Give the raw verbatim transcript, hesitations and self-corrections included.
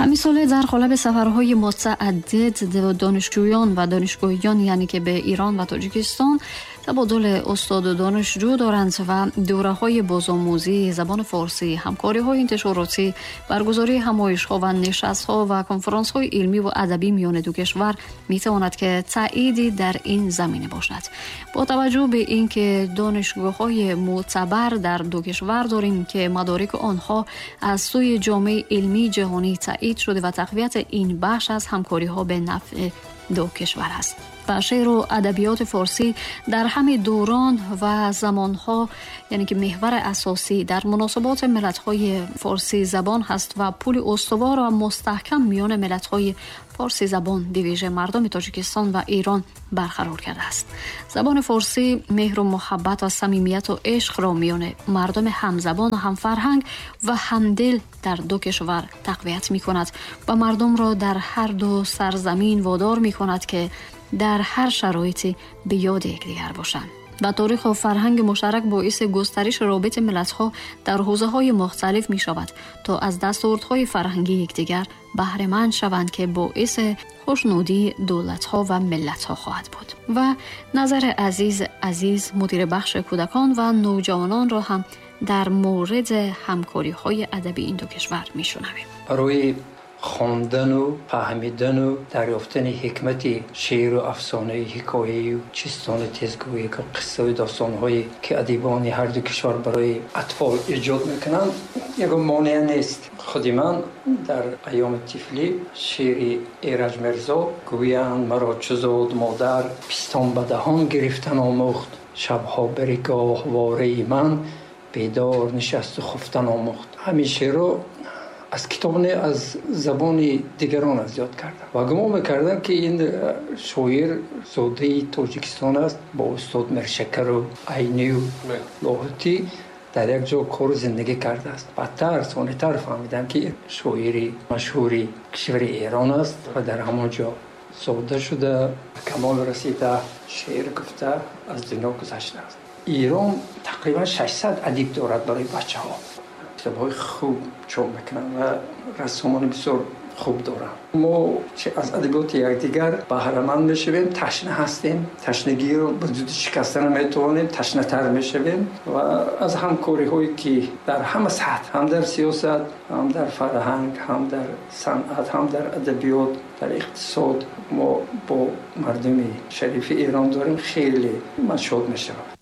Ҳамин сола дар қолаби сафарҳои мутааддид донишҷӯён ва донишгоҳиён, яъне ки ба Эрон ва Тоҷикистон табодули устоду донишҷӯ доранд ва дурҳои бозомӯзии забони форсӣ, ҳамкориҳои интишоротӣ, баргузории ҳамоишҳо ва нишастҳо ва конференсҳои илмӣ ва адабӣ миёни ду кишвар метавонад ки таъйиде дар ин замина бошад. Бо таваҷҷӯҳ ба инки донишгоҳҳои мӯътабар дар ду кишвар дорем ки мадорики онҳо аз сӯи ҷомеаи илмии ҷаҳонӣ таъйид шуда ва тақвияти ин бахш аз ҳамкориҳо ба нафъи ду кишвар аст. Ва шеъру адабиёти форсӣ дар ҳамаи дурон ва замонҳо, яъне ки меҳвари асосӣ дар муносиботи миллатҳои форсӣ забон ҳаст ва пули устувор ва мустаҳкам миёни миллатҳои форсӣ забон бевижа мардуми Тоҷикистон ва Эрон барқарор кардааст. Забони форсӣ меҳру муҳаббат ва самимияту ишқро миёни мардуми ҳамзабон ва ҳамфарҳанг ва ҳамдил дар ду кишвар тақвият мекунад ва мардумро дар ҳар ду сарзамин водор мекунад ки дар ҳар шароите ба ёди якдигар бошанд. Ва таърих ва фарҳанги муштарак боиси густариши робитаи миллатҳо дар ҳавзаҳои мухталиф мешавад то аз дастовардҳои фарҳангии якдигар баҳраманд шаванд ки боиси хушнудии давлатҳо ва миллатҳо хоҳад буд. Ва назари азиз азиз мудири бахши кӯдакон ва навҷавононро ҳам дар мавриди ҳамкориҳои адабии ин ду кишвар мешунавем. Барои хондану фаҳмидану дарёфтани ҳикмати шеъру афсонаи ҳикояю чистони тезгӯӣ ки қиссаю достонҳое ки адибони ҳар ду кишвар барои атфол эҷод мекунанд, ягон монеа нест. Худи ман дар айёми тифлӣ шеъри Эраҷ Мирзо гӯянд маро чу зод модар, пистон ба даҳон гирифтан омӯхт, шабҳо бари гоҳвораи ман бедор нишасту хуфтан омӯхт. Ҳамин шеърро аз китоб не, аз забони дигарон аз ёд кардам ва гумон мекардам ки ин шоир зодаи Тоҷикистон аст, бо устод Миршакару Айнию Лоҳутӣ дар як ҷо кору зиндагӣ кардааст. Баъдтар сонитар фаҳмидам ки шоири машҳури кишвари Эрон аст ва дар ҳамон ҷо зода шуда, ба камол расида, шеър гуфта, аз дунё гузаштааст. Эрон тақрибан шашсад адиб дорад барои бачаҳо. Китобҳои хуб чоп мекунанд ва рассомони бисёр хуб доранд. Мо аз адабиёти якдигар баҳраманд мешавем, ташна ҳастем, ташнагиро ба зудӣ шикаста наметавонем, ташнатар мешавем ва аз ҳамкориҳое ки дар ҳама сатҳ, ҳам дар сиёсат, ҳам дар фарҳанг, ҳам дар санъат, ҳам дар адабиёт, дар иқтисод мо бо мардуми шарифи Эрон дорем, хеле ман шод мешавам.